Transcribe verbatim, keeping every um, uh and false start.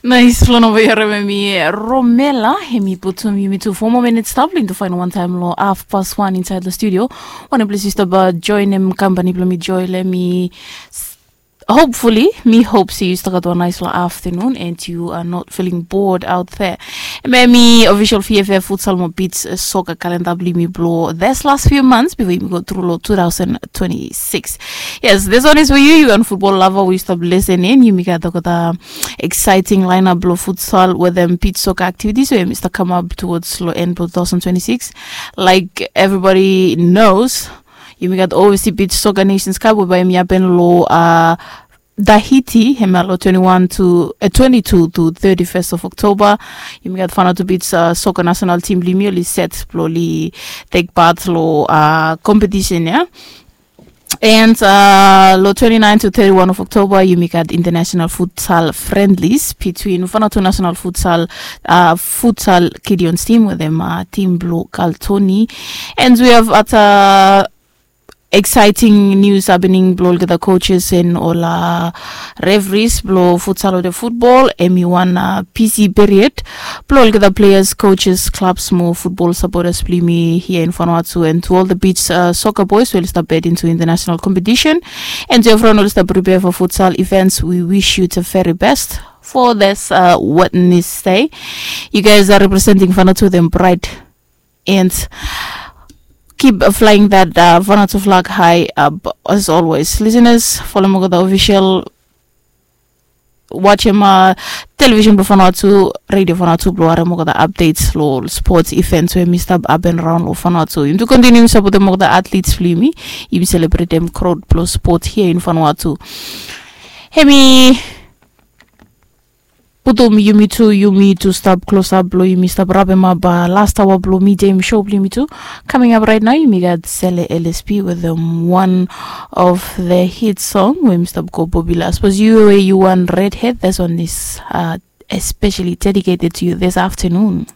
Nais, long namba ya, remember mi, Romela, hemi putum yumi tu four more minutes stap long tu fainol wantaem long half past one inside the studio. Wanem ples yu stap joinem kampani blong mi, Joel, hemi hopefully, mi hope se yu stap gat wan nais long afternoon and you are not feeling bored out there. Hemia mi official F F futsal mo beach soccer calendar blong yumi blong this last few months before yumi go through long two thousand twenty-six. Yes, this one is for you, you and football lover, we stop listening. Yumi gat olgeta exciting lineup blong futsal wetem beach soccer activities we yumi stap come up towards long end blong two thousand twenty-six. Like everybody knows, yumi gat overseas beach soccer Nations Cup we bae yumi hapen long uh, Tahiti, hemia long twenty-one to uh, twenty-two to thirty-first of October. Yumi gat Vanuatu beach uh, soccer national team blong yumi oli set blong oli take part long uh, competition ya. And uh, long twenty-nine to thirty-one of October, yumi gat international futsal friendlies between Vanuatu national futsal uh, futsal Gideons team wetem uh, team blong Galtoni. And we have at uh, exciting news happening blong olgeta coaches and ol uh, referees blong futsal wetem football. Hemi wan uh, busy period blong olgeta players, coaches, clubs mo football supporters blong yumi here in Vanuatu, and to all the beach uh, soccer boys we oli stap head into international competition, and to everyone we oli stap prepare for futsal events, we wish you the very best for this uh, Wednesday. You guys are representing Vanuatu with pride and keep uh, flying that uh, Vanuatu flag high up as always. Listeners, follow olgeta official, watch him uh, television blong Vanuatu, radio Vanuatu blong harem olgeta updates long sports events we hemi stap hapen raon long Vanuatu. Yumi tu continue supportem olgeta athletes blong yumi, yumi celebratem crowd blong sport here in Vanuatu. Hemi putum yumi tu, yumi tu stap close up blong yumi stap rapemap uh, last hour blong midtime show blong yumi tu. Coming up right now, yumi gat Sele L S P wetem one of the hit song we yumi stap go popular. Suppose yu we yu wan redhead, this one is uh, especially dedicated to you this afternoon.